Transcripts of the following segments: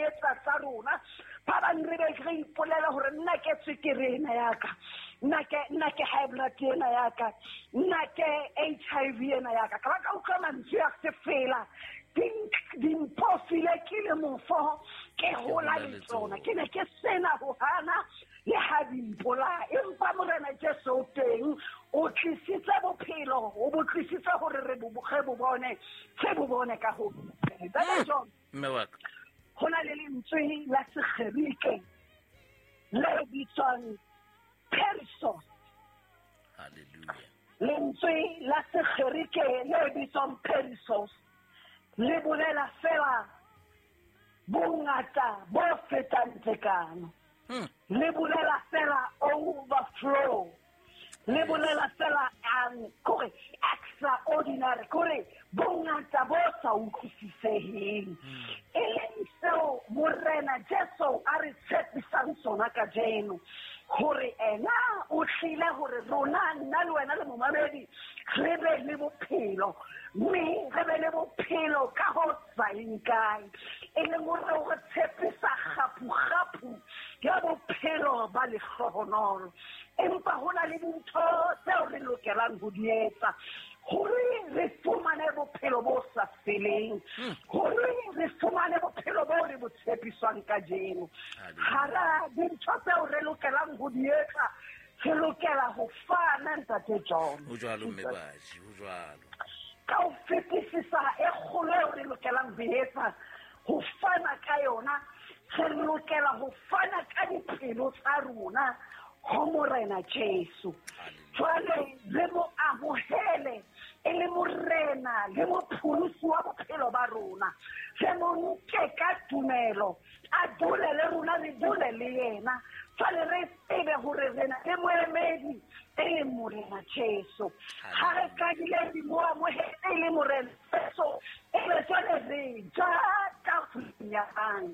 etsa tsa rona. Ba bang re be re ipolela hore nna ke tswekere ena ya ka, nna ke high blood ena ya ka, nna ke HIV ena ya ka. Ka ba ka utlwa mantswe a sefela, dimpofile ke le mofo, ke hola le tsona. Ke ne ke sena ho hana le ha dimpola, empa Morena Jesu o teng, o tlisitse bophelo, o bo tlisitse hore re bo bone, re bo bone ka ho. Mme wa ka, ho na le lentswe la Segerike le bitswang perissos. Hallelujah. Lentswe la Segerike le bitswang perissos le bolela fela bongata bo fetang tekano. Le bolela fela overflow. Le bolela fela kore extraordinary, kore bongata bo sa utlwisiseheng. E leng seo Morena Jesu a re tshepisang sona kajeno, hore ena o tlile hore rona, nna le wena le momamedi, re be le bophelo, mme re be le bophelo ka ho sa eng kae. E leng hore o re tshepisa kgaphu-kgaphu ya bophelo ba lehlohonolo. Empa ho na le dintho tseo re lokelang ho di etsa hore re fumane bophelo bo sa feleng, hore re fumane bophelo bo re bo tshepiswang kajeno. Hara dintho tseo re lokelang ho di etsa, re lokela ho fana, Ntate John. Ho jwalo, mme Baji, ho jwalo. Ka ho fetisisa e kgolo eo re lokelang ho etsa, ho fana ka yona, re lokela ho fana ka dipelo tsa rona ho Morena Jesu. Jwale re mo amohele e le Morena le mopholosi wa bophelo ba rona. Re mo nke ka tumelo, a dule le rona, re dule le yena. Jwale re tsebe hore re na le moemedi e leng Morena Jesu. Ha re qadile re mo amohele e le Morena Jesu, e be jwale re ja tafoleng ya hae,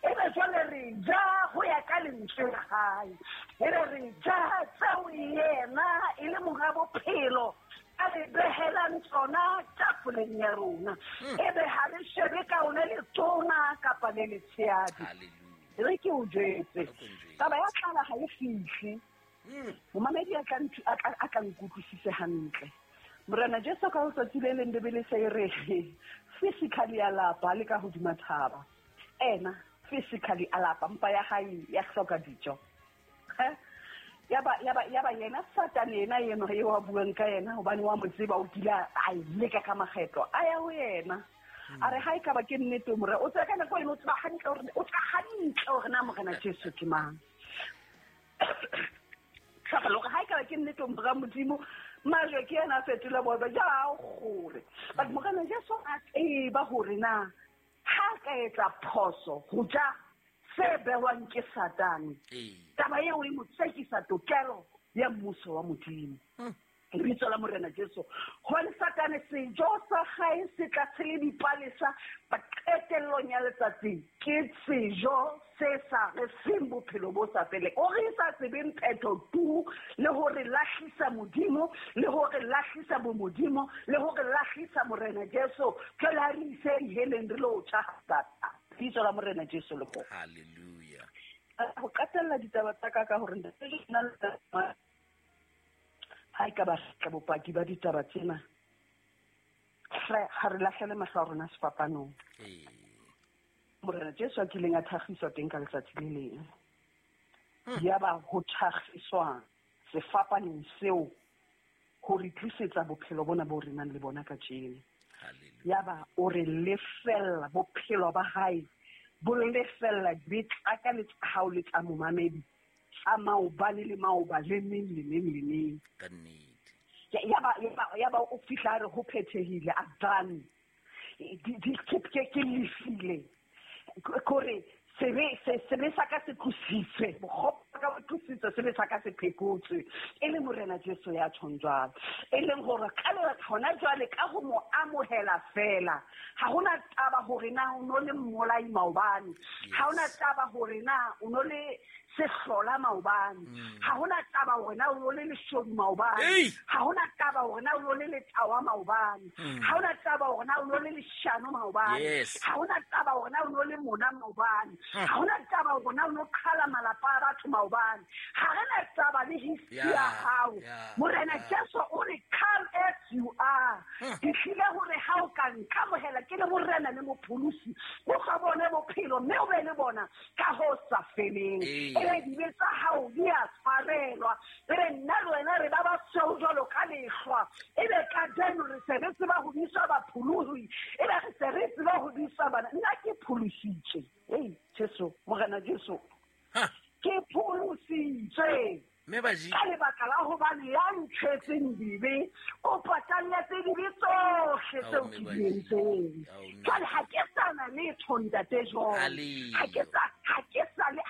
e be jwale re ja ho ya ka lentswe la hae, e be re ja tseo yena e le monga bophelo a re behelang tsona tafoleng ya rona. E be ha re shebe ka one letona kapa le letshehadi. Re ke o jwetse, taba ya tlala ha e fihle. Momamedi a tla nkutlwisise hantle. Morena Jesu ka letsatsi le leng Bibele se e re physically a lapa le ka hodima thaba. Ena physically a lapa, mpa ya hae ya hloka dijo. Yaba yena Satane yena eno eo a buang ka yena, hobane wa mo tseba, o kile a e leka ka makgetlo, a ya ho yena. A re ha ekaba ke nnete Morena, o tseba ka nako eno, o tseba hantle hore, o tseba hantle hore na Morena Jesu ke mang. Tlhagelo hore ha ekaba ke nnete Mora Modimo, majwe ke yena a fetola bobe, ja kgore. But Morena Jesu a tseba hore na ha ka etsa phoso ho ja se behwang ke Satane, taba eo e mo tsekisa tokelo ya mmuso wa Modimo. Lebitso la Morena Jesu. Hobane Satane sejo sa hae se tla se le dipalesa, ba qetellong ya letsatsi ke sejo se sa re feng bophelo bo sa feleng. O re sa tsebeng phetho tu, le hore lahlisa Modimo, le hore lahlisa bomodimo, le hore lahlisa Morena Jesu. Jwale ha re ise diheleng re lo tjha Satane. Lebitso la Morena Jesu le ho. Hallelujah. Ho qetella ditaba tsa ka ka hore ntate nna le ha e ka ba tla bopaki ba ditaba tsena, ha re lahlele mahlo a rona sefapanong. Morena Jesu a kileng a thakgiswa teng ka letsatsi le leng. Yaba ho thakgiswa sefapanong seo ho re tlisetsa bophelo bona bo re nang le bona kajeno. Yaba o re lefella bophelo ba hae, bo lefella dibe tsa ka le tsa hao le tsa momamedi, tsa maobane le maoba le neng le neng le neng. Ka nnete. Yaba o fihla a re ho phethehile, a done. Ke lefile. Kore sebe sa ka se tlositswe, bokgopo Ka botlositse sebe sa ka se phekotswe e le Morena Jesu ya tjhong jwalo, e leng hore ka lebaka hona jwale ka ho mo amohela fela, ha hona taba hore na o no le mmolai maobane, ha hona taba hore na o no le sehlola maobane, ha hona taba hore na o no le leshodu maobane, ha hona taba hore na o no le letawa maobane, ha hona taba hore na o no le leshano maobane, ha hona taba hore na o no le mona maobane, ha hona taba hore na o no qhala malapa a batho maobane, ha re na taba le history ya hao. Morena Jesu o re come as you are. Ke tlile hore ha o ka nkamohela ke le Morena le Mopholosi, o tla bone bophelo mme o be le bona ka ho sa feleng. Ebe dibe tsa hao di a tshwarelwa, ebe nna le wena re ba basweu jwalo ka lehlwa, ebe kajeno re se re tseba ho bitswa bapholohi, ebe re se re tseba ho bitswa bana. Nna ke pholositswe. Ei Jesu, Morena Jesu, ke pholositswe ka lebaka la hobane ya ntshwetseng dibe o patalletse dibe tsohle tseo ke di entseng. Jwale ha ke sa na letho, ntate John, ha ke sa le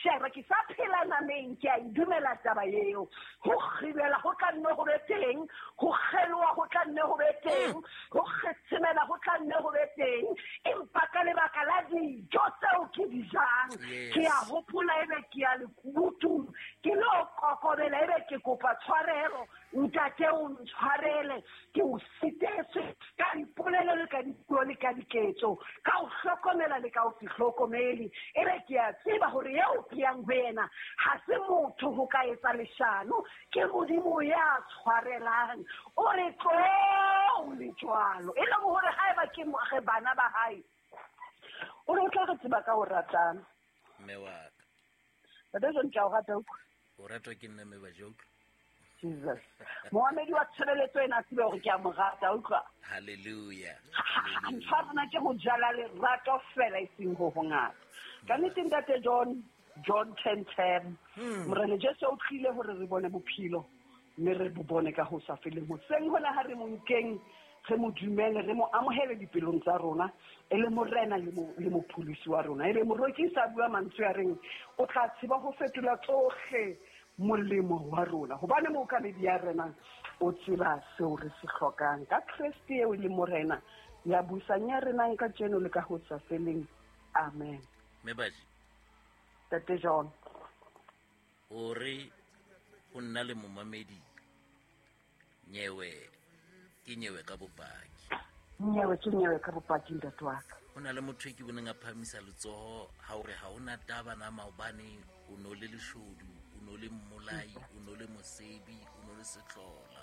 sheba, ke sa phela nameng, ke a e dumela taba eo. Ho kgibela ho tla nne ho be teng, ho kgeloha ho tla nne ho be teng, ho kgetshemela ho tla nne ho be teng, empa ka lebaka la dijo tseo ke di jang, ke a hopola ebe ke ya lekunutung, ke lo kokobela ebe ke kopa tshwarelo, ntate o ntshwarele, ke o sitetswe ka dipolelo le ka dipuo le ka diketso, ka o hlokomela le ka o se hlokomele, ebe ke a tseba hore eo ke yang ho yena ha se motho ho ka etsa leshano, ke Modimo ya tshwarelang. O re tlo le jwalo, e leng hore haeba ke re bana ba hae, o re o tla re tseba ka ho ratana. Mme wa ka, Ntate John, ke a o rata. O ratwa ke nna, mme ba utlwa. Jesus. Moamedi wa tshebeletso ena a tsebe hore ke a mo rata, utlwa. Hallelujah. Ntho ya rona ke ho jala lerato fela e seng ho hongata. Ka nnete ntate John, John 10:10. Morena Jesu o tlile hore re bone bophelo, mme re bo bone ka ho sa feleng. Hoseng hona ha re mo nkeng, re mo dumele, re mo amohele dipelong tsa rona, e le Morena le Mopholosi wa rona. Ebe moroki sa bua mantswe a reng, o tla tseba ho fetola tsohle molemo wa rona, hobane mookamedi ya renang o tseba seo re se hlokang. Ka Kreste eo le Morena ya busang ya renang kajeno le ka ho sa feleng. Amen. Mme Baji, Ntate John, o re ho nna le momamedi nyewe ke nyewe ka bopaki. Nyewe ke nyewe ka bopaki, ntate wa ka. Ho na le motho e ke boneng a phahamisa letsoho ha o re ha hona taba na maobane o no le leshodu, o no le mmolai, o no le mosebi, o no le sehlola.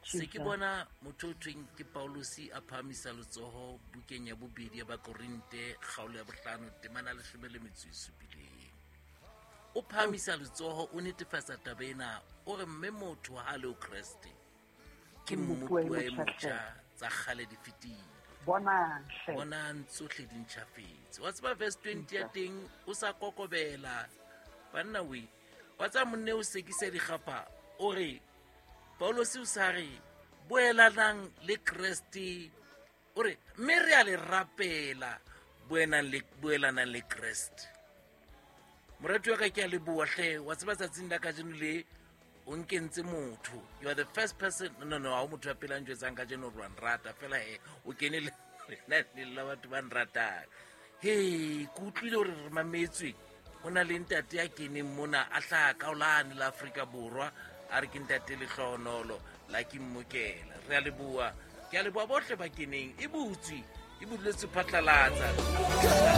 Se ke bona motho o thweng ke Paulosi a phahamisa letsoho bukeng ya bobedi ya Bakorinte kgaolo ya 5 temana 17. O phahamisa letsoho, o netefatsa taba ena, o re mme motho ha le o Kreste ke mmopuwa e motjha, tsa kgale di fetile. Bonang tsohle di ntjhafetse. Wa tseba verse 20 ya teng, o sa kokobela banna we, wa tseba monne o sekisa dikgapha, o re Paulosi o sa re boelanang le Kreste, o re mme re a le rapela boelanang le Kreste. Morati wa ka ke a leboha hle, wa tseba tsatsing la kajeno le o nkentse motho. You are the first person. No, ha o motho ya pele a njwetsang kajeno hore wa nrata, fela he o kene le lenaneng la batho ba nratang. He, ke utlwile hore re mametswe, ho na le ntate ya keneng mona a hlaha kaolane la Afrika Borwa, a re ke ntate Lehlohonolo la ke mmokela. Re a leboha, ke a leboha bohle ba keneng. E butswe, e buletswe phatlalatsa.